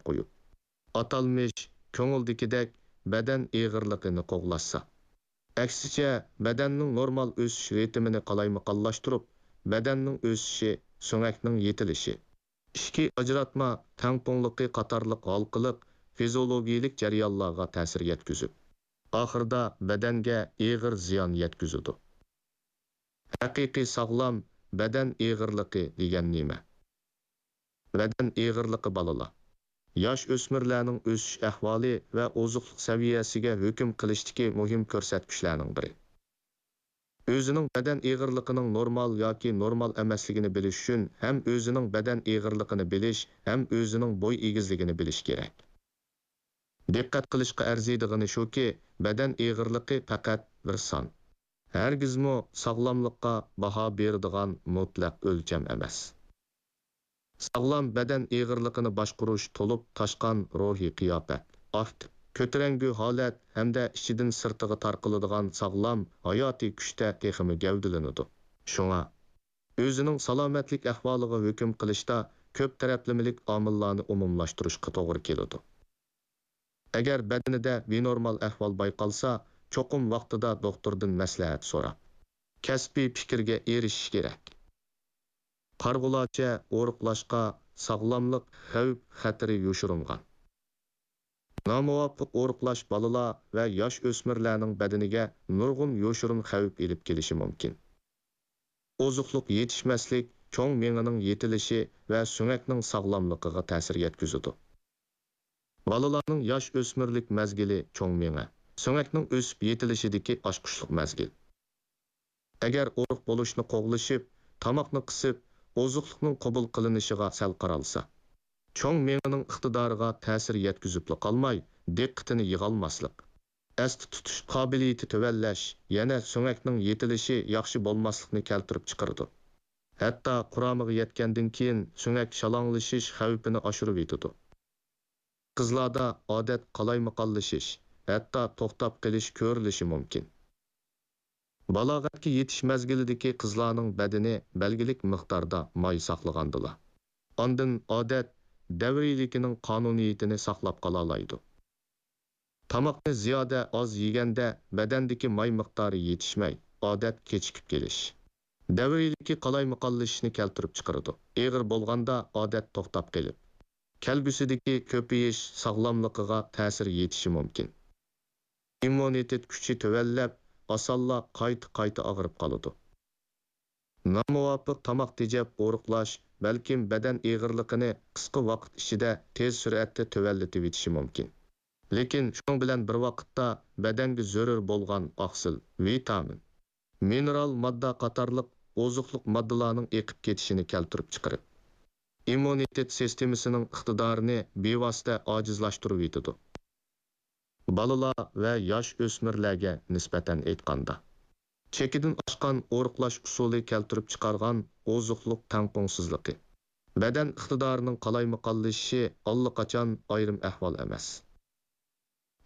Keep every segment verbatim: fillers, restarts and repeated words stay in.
قويۇپ، ئاتالمىش كۆڭۈلدىكىدەك بەدەن ئېغىرلىقىنى قوغلاشسا. ئەكسىچە، بەدەننىڭ نورمال ئۆسۈش رىتىمىنى قالايمىقانلاشتۇرۇپ، بەدەننىڭ ئۆسۈشى، سۆڭەكنىڭ يېتىلىشى، ئىچكى ئاجراتما تەڭپۇڭلۇقى قاتارلىق ھالقىلىق فىزىئولوگىيەلىك جەريانلارغا تەسىر يەتكۈزۈپ، ئاخىرىدا بەدەنگە ئېغىر زىيان يەتكۈزىدۇ. ھەقىقىي ساغلام بەدەن ئېغىرلىقى دېگەن نېمە؟ بەدەن ئېغىرلىقى بالىلار، ياش ئۆسمۈرلەرنىڭ ئۆسۈش ئەھۋالى ۋە ئوزۇقلۇق سەۋىيەسىگە ھۆكۈم قىلىشتىكى مۇھىم كۆرسەتكۈچلەرنىڭ بىرى. ئۆزىنىڭ بەدەن ئېغىرلىقىنىڭ نورمال ياكى نورمال ئەمەسلىكىنى بىلىش ئۈچۈن ھەم ئۆزىنىڭ بەدەن ئېغىرلىقىنى بىلىش، ھەم ئۆزىنىڭ بوي ئېگىزلىكىنى بىلىش كېرەك. دىققەت قىلىشقا ئەرزىيدىغىنى شۇكى، بەدەن ئېغىرلىقى پەقەت بىر سان. ھەرگىزمۇ ساغلاملىققا باھا بېرىدىغان مۇتلەق ئۆلچەم ئەمەس. ساغلام بەدەن ئېغىرلىقىنى باشقۇرۇش تولۇپ تاشقان روھىي قىياپەت، ئاكتىپ، كۆتۈرەڭگۈ ھالەت ھەمدە ئىچىدىن سىرتىغا تارقىلىدىغان ساغلام ھاياتىي كۈچتە تېخىمۇ گەۋدىلىنىدۇ. شۇڭا، ئۆزىنىڭ سالامەتلىك ئەھۋالىغا ھۆكۈم قىلىشتا كۆپ تەرەپلىمىلىك ئامىللارنى ئومۇملاشتۇرۇشقا توغرا كېلىدۇ. ئەگەر بەدىنىدە بىنورمال ئەھۋال بايقالسا، چوقۇم ۋاقتىدا دوختۇردىن مەسلىھەت سوراپ، كەسپىي پىكىرگە ئېرىشىش كېرەك. قارىغۇلارچە ئورۇقلاشقا ساغلاملىق خەۋپ خەتىرى يوشۇرۇنغان. نامۇۋاپىق ئورۇقلاش بالىلار ۋە ياش ئۆسمۈرلەرنىڭ بەدىنىگە نۇرغۇن يوشۇرۇن خەۋپ ئېلىپ كېلىشى مۇمكىن. ئوزۇقلۇق يېتىشمەسلىك چوڭ مېڭىنىڭ يېتىلىشى ۋە سۆڭەكنىڭ ساغلاملىقىغا تەسىر يەتكۈزىدۇ. بالىلارنىڭ ياش ئۆسمۈرلۈك مەزگىلى چوڭ مېڭە، سۆڭەكنىڭ ئۆسۈپ يېتىلىشىدىكى ئاچقۇچلۇق مەزگىل. ئەگەر ئورۇق بولۇشنى قوغلىشىپ، تاماقنى قىسىپ، ئوزۇقلۇقنىڭ قوبۇل قىلىنىشىغا سەل قارالسا، چوڭ مېڭىنىڭ ئىقتىدارىغا تەسىر يەتكۈزۈپلا قالماي، دىققىتىنى يىغالماسلىق، ئەستە تۇتۇش قابىلىيىتى تۆۋەنلەش، يەنە سۆڭەكنىڭ يېتىلىشى ياخشى بولماسلىقنى كەلتۈرۈپ چىقىرىدۇ. ھەتتا قۇرامىغا يەتكەندىن كېيىن سۆڭەك شالاڭلىشىش خەۋپىنى ئاشۇرۇۋېتىدۇ. قىزلاردا ئادەت قالايمىقانلىشىش، ھەتتا توختاپ قېلىش كۆرۈلۈشى مۇمكىن. بالاغەتكە يېتىش مەزگىلىدىكى قىزلارنىڭ بەدىنى بەلگىلىك مىقداردا ماي ساقلىغاندىلا، ئاندىن ئادەت دەۋرىيلىكىنىڭ قانۇنىيىتىنى ساقلاپ قالالايدۇ. تاماقنى زىيادە ئاز يېگەندە بەدەندىكى ماي مىقدارى يېتىشمەي، ئادەت كېچىكىپ كېلىش، دەۋرىيلىكى قالايمىقانلىشىشنى كەلتۈرۈپ چىقىرىدۇ. ئېغىر بولغاندا ئادەت توختاپ قېلىپ، كەلگۈسىدىكى كۆپىيىش ساغلاملىقىغا تەسىر يېتىشى مۇمكىن. ئىممۇنىتېت كۈچى تۆۋەنلەپ، ئاسانلا قايتا-قايتا ئاغرىپ قالىدۇ. نامۇۋاپىق تاماق تېجەپ ئورۇقلاش بەلكىم بەدەن ئېغىرلىقىنى قىسقا ۋاقىت ئىچىدە تېز سۈرئەتتە تۆۋەنلىتىۋېتىشى مۇمكىن. لېكىن شۇنىڭ بىلەن بىر ۋاقىتتا بەدەنگە زۆرۈر بولغان ئاقسىل، ۋىتامىن، مىنېرال ماددا قاتارلىق ئوزۇقلۇق ماددىلارنىڭ ئېقىپ كېتىشىنى كەلتۈرۈپ چىقىرىپ، ئىممۇنىتېت سىستېمىسىنىڭ ئىقتىدارىنى بىۋاسىتە ئاجىزلاشتۇرۇۋېتىدۇ. بالىلار ۋە ياش ئۆسمۈرلەرگە نىسبەتەن ئېيتقاندا، چېكىدىن ئاشقان ئورۇقلاش ئۇسۇلى كەلتۈرۈپ چىقارغان ئوزۇقلۇق تەڭپۇڭسىزلىقى، بەدەن ئىقتىدارىنىڭ قالايمىقانلىشىشى ئاللىقاچان ئايرىم ئەھۋال ئەمەس.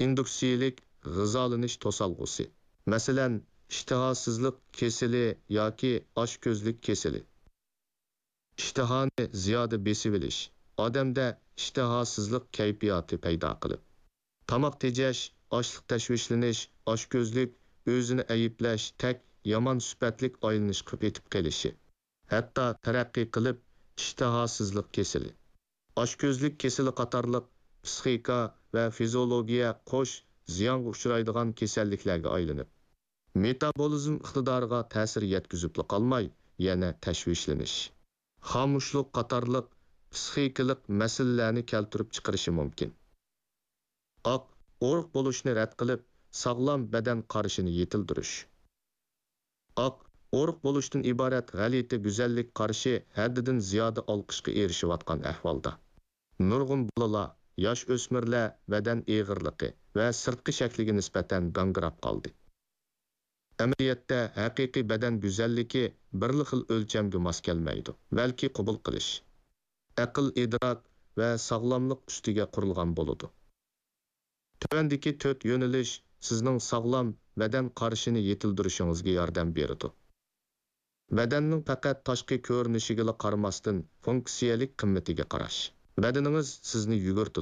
ئىندۇكسىيەلىك غىزالىنىش توسالغۇسى، مەسىلەن، ئىشتىھاسىزلىق كېسىلى ياكى ئاچكۆزلۈك كېسىلى. ئىشتىھانى زىيادە بېسىۋېلىش، ئادەمدە ئىشتىھاسىزلىق كەيپىياتى پەيدا قىلىپ، تاماق تېجەش، ئاچلىق تەشۋىشلىنىش، ئاچكۆزلۈك، ئۆزىنى ئەيىبلەش، تەك يامان سۈپەتلىك ئايلىنىشقا پېتىپ قېلىشى، ھەتتا تەرەققىي قىلىپ، ئىشتىھاسىزلىق كېسىلى، ئاچكۆزلۈك كېسىلى قاتارلىق پىسخىكا ۋە فىزىئولوگىيە قوش زىيانغا ئۇچرايدىغان كېسەللىكلەرگە ئايلىنىپ، مېتابولىزم ئىقتىدارىغا تەسىر يەتكۈزۈپلا قالماي، يەنە تەشۋىشلىنىش، خامۇشلۇق قاتارلىق پىسخىكىلىق مەسىلىلەرنى كەلتۈرۈپ چىقىرىشى مۇمكىن. ئاق، ئورۇق بولۇشنى رەت قىلىپ، ساغلام بەدەن قارىشىنى يېتىلدۈرۈش. ئاق، ئورۇق بولۇشتىن ئىبارەت غەلىتە گۈزەللىك قارىشى ھەددىدىن زىيادە ئالقىشقا ئېرىشىۋاتقان ئەھۋالدا، نۇرغۇن بالىلار، ياش ئۆسمۈرلەر بەدەن ئېغىرلىقى ۋە سىرتقى شەكلىگە نىسبەتەن گاڭگىراپ قالدى. ئەمەلىيەتتە، ھەقىقىي بەدەن گۈزەللىكى بىرلا خىل ئۆلچەمگە ماس كەلمەيدۇ، بەلكى قوبۇل قىلىش، ئەقىل-ئىدراك ۋە ساغلاملىق ئۈستىگە قۇرۇلغان بولىدۇ. تۆۋەندىكى تۆت يۆنىلىش سىزنىڭ ساغلام بەدەن قارىشىنى يېتىلدۈرۈشىڭىزگە ياردەم بېرىدۇ. بەدەننىڭ پەقەت تاشقى كۆرۈنۈشىگىلا قارىماستىن، فۇنكسىيەلىك قىممىتىگە قاراش. بەدىنىڭىز سىزنى يۈگۈرتىدۇ.